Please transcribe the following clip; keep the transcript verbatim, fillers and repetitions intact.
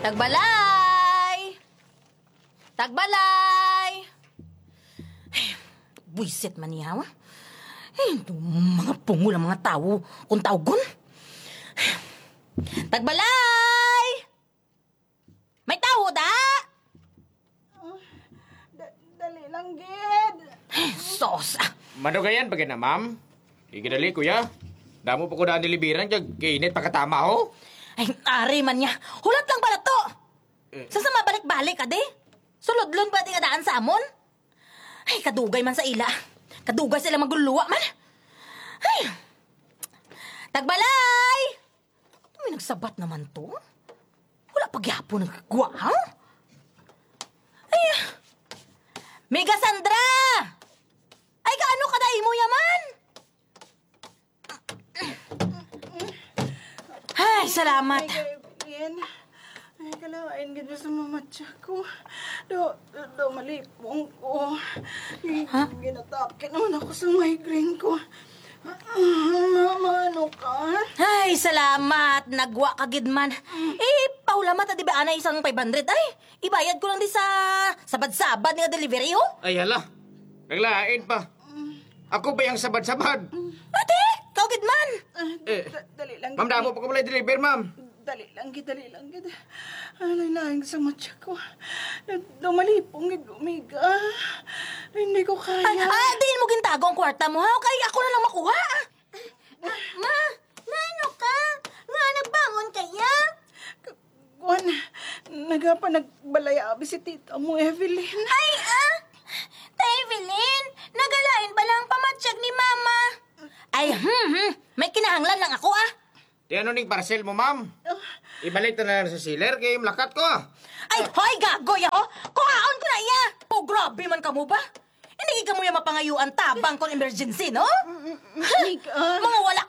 Tagbalay! Tagbalay! Ay, buwisit man niya, wa? Ay, mga pungol ang mga tawo kung tawgon. Tagbalay! May tawo da? Ah, da- dali lang, gid. Sos, ah. Madugayan pa gina, ma'am. Igidali, kuya. Damo pa ko daan deliveran, kag kainit pagkatama, ho. Ay, ari man niya. Hulat lang pala to. Eh. Sa sa mabalik-balik, ade? Sulodlon pa di nga daan sa amon? Ay, kadugay man sa ila. Kadugay sa ila maguluwa man. Ay. Tagbalay! May nagsabat naman to. Wala pa gyapon nagkagwa, ha? Ay, Miga Sandra! Ay, kaano ka na imo yaman? Ay, salamat. Ay, Evelyn. Ay, kalain gid sa mamatya ko. Do, do, do, malipong ko. Ha? Ginatake naman ako sa migraine ko. Ma, maano ka? Ay, salamat. Nagwa ka gid man. Eh, paulamat na di ba anay isang five hundred? Ay, ibayad ko lang di sa sabad-sabad nga delivery, ho? Ay, hala. Naglain pa. Ako ba yung sabad-sabad? Ate, kau gid man. Ah, Eh, da- dali lang. Ma'am, damo pa ko pala deliver, ma'am. Dali lang gid, dali lang gid. Alay lang sa matya ko. Dumalipong gid, Miga. Hindi ko kaya. Ay, ah, diin mo gintago ang kwarta mo, ha? Kay ako na lang makuha. Ma, maano ka? Nga, nagbangon kaya? Kuan, nagapa nagbalay abi si tita mo, Evelyn. Ay, ah! Ta Evelyn, nagalain ba lang pamatyag ni Mama? Ay, hmm, hmm. May kinahanglan lang ako, ah. Di ano ning parcel mo, ma'am? Ah. Ibalik ta na lang sa seller kay malakat ko. Ay, hoy, gagoy, ho! Kuhaon ko na iya! Oh, grabe man kamo ba? Hindi gid kamo ya mapangayuan tabang kung emergency, no? Mm, mm, Mika. Mga wala